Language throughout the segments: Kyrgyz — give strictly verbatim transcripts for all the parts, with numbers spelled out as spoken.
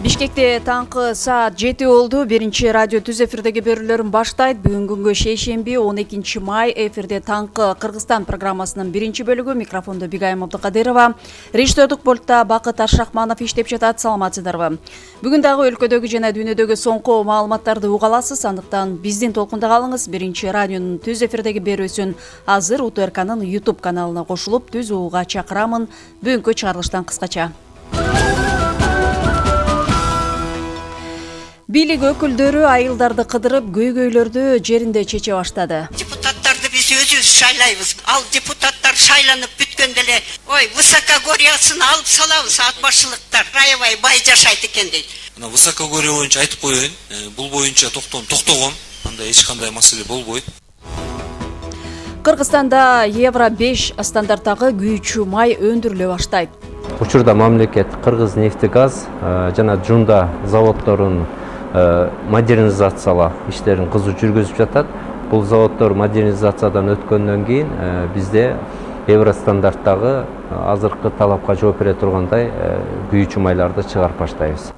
Бишкекте таңкы саат жети болду. Биринчи радио түз эфирдеги берүүлөрүн баштайт. Бүгүн күнгө шейшемби он экинчи май. Эфирде таңкы Кыргызстан программасынын биринчи бөлүгү. Микрофондо Бигайым Абдыкадырова. Режиссердук пультта Бакыт Ашрахманов иштеп жатат. Саламатсыздарбы? Бүгүн дагы өлкөдөгү жана дүйнөдөгү соңку маалыматтарды уга аласыз. Андыктан биздин толкунда калыңыз. Биринчи радионун түз эфирдеги берүүсүн азыр УТРКнын YouTube каналына кошулуп түз угууга чакырамын. Бүгүнкү чыгарылыштан кыскача. Бийлик өкүлдөрү айылдарды кыдырып, көйгөйлөрдү жеринде чече баштады. Депутаттарды биз өзүбүз шайлайбыз. Ал депутаттар шайланып бүткөндө эле, ой, высокогорьясын алып салабыз, ат башчылыктар аябай бай жашайт экен дейт. Мына высокогорье боюнча айтып коеюн, бул боюнча токтом токтогон, анда эч кандай маселе болбойт. Кыргызстанда евро беш стандарттагы күйүүчү май өндүрүлө баштайт. Учурда мамлекет Кыргызнефтегаз жана Жунда заводдорун модернизациялоо иштерин кызуу жүргүзүп жатат. Бул заводдор модернизациядан өткөндөн кийин бизде евро стандарттагы азыркы талапка жооп бере тургандай күйүүчү майларды чыгарып баштайбыз.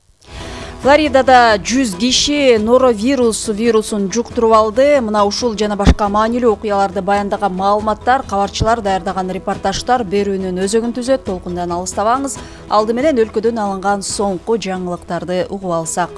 Флоридада жүз киши норовирус вирусун жуктуруп алды. Мына ушул жана башка маанилүү окуяларды баяндаган маалыматтар, кабарчылар даярдаган репортаждар берүүнүн өзөгүн түзөт. Толкундан алыстабаңыз. Алды менен өлкөдөн алынган соңку жаңылыктарды угуп алсак.